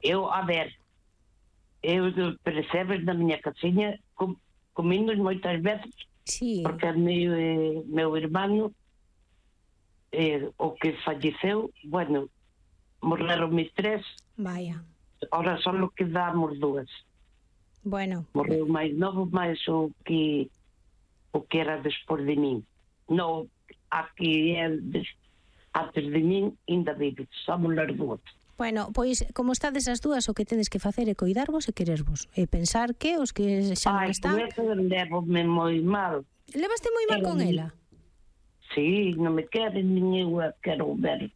eu, a ver, eu percebes na miña casiña comimos moitas veces, porque meu irmão, o que falleceu, bueno, morreron mis 3. Vaya. Ahora só quedamos 2. Bueno. Morreu máis novo, máis o que era despois de min. Non, aquí antes de min ainda vive, somos as 2. Bueno, pois, como estades as 2, o que tedes que facer é coidarvos e querervos. E pensar que os que xa non están... Ai, con eso levome moi mal. Levaste moi mal con ela? Sí, non me queren, nin eu a quero ver.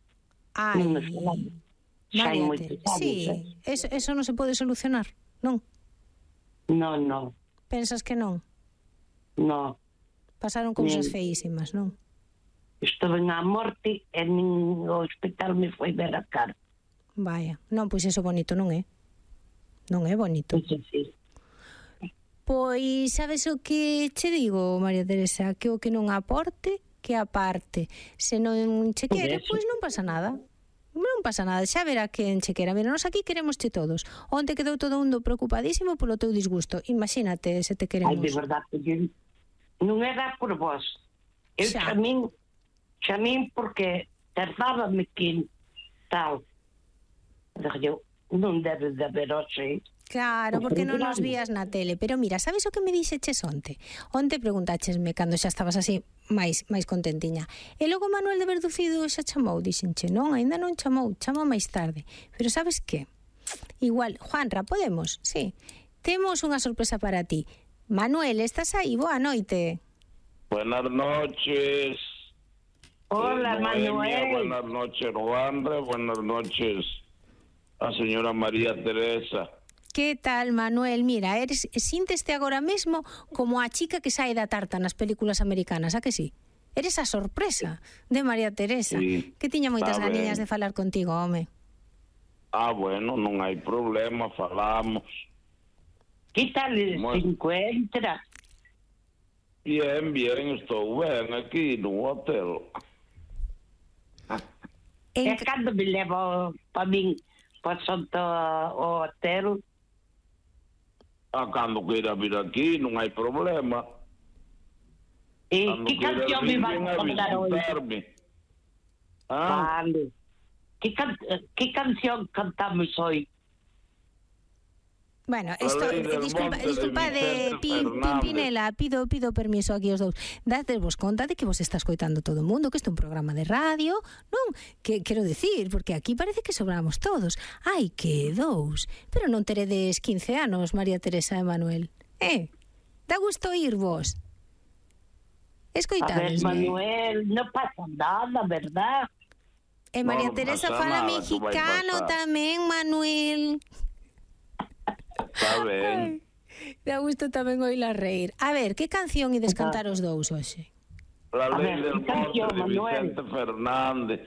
Ai, Mariate, sí, eso non se pode solucionar, non? Non. Pensas que non? Non. Pasaron cousas feísimas, non? Estuve na morte e nin o hospital me foi ver a cara. Vaya, non, pois eso bonito non é. Non é bonito. Sí. Pois, sabes o que che digo, María Teresa? Que o que non aporte, que aparte. Se non che quere, pois non pasa nada. Non pasa nada, xa verá quen che quera. Mira, nos aquí queremosche todos. Onte quedou todo mundo preocupadísimo polo teu disgusto. Imagínate se te queremos. Ai, de verdade, non era por vos. Eu chamín porque tardábame que tal. Eu non debe de haber hoxe. Claro, porque non nos vías na tele. Pero mira, sabes o que me dixeches onte? Onte preguntáchesme cando xa estabas así máis contentiña. E logo Manuel de Verducido xa chamou, dixenche, non, ainda non chamou, chama máis tarde. Pero sabes que? Igual, Juanra, podemos? Sí. Temos unha sorpresa para ti. Manuel, estás aí? Boa noite. Buenas noches. Hola, Manuel. Buenas noches, Juanra. Buenas noches a señora María Teresa. Que tal, Manuel? Mira, sínteste agora mesmo como a chica que sae da tarta nas películas americanas, a que sí? Eres a sorpresa de María Teresa, que tiña moitas ganiñas de falar contigo, home. Bueno, non hai problema, falamos. Que tal se encuentra? Bien, estou ben aquí no hotel. E cando me levo para min para o hotel? Cando queira vir aquí, non hai problema. E que canción me vai contar hoje? Vale. Que canción cantamos hoje? Bueno, disculpa de Pimpinela, pido permiso aquí os dous. Dadevos conta de que vos está escoitando todo o mundo, que isto é un programa de radio, non? Que quero decir, porque aquí parece que sobramos todos. Ai, que dous. Pero non teredes 15 anos, María Teresa e Manuel. Dá gusto oírvos. Escoitadesme. A ver, Manuel, non pasa nada, verdad? E María Teresa fala mexicano tamén, Manuel. Está ben. Dá gusto tamén oíla reír. A ver, que canción ides cantar os dous hoxe? La ley del monte de Vicente Fernández.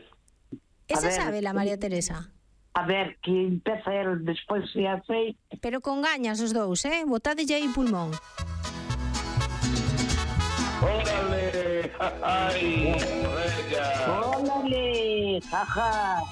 Esa sabe la María Teresa? A ver, que empeza el despois se hace. Pero con gañas os dous, botadelle aí pulmón. Órale, ay, órale, jaja.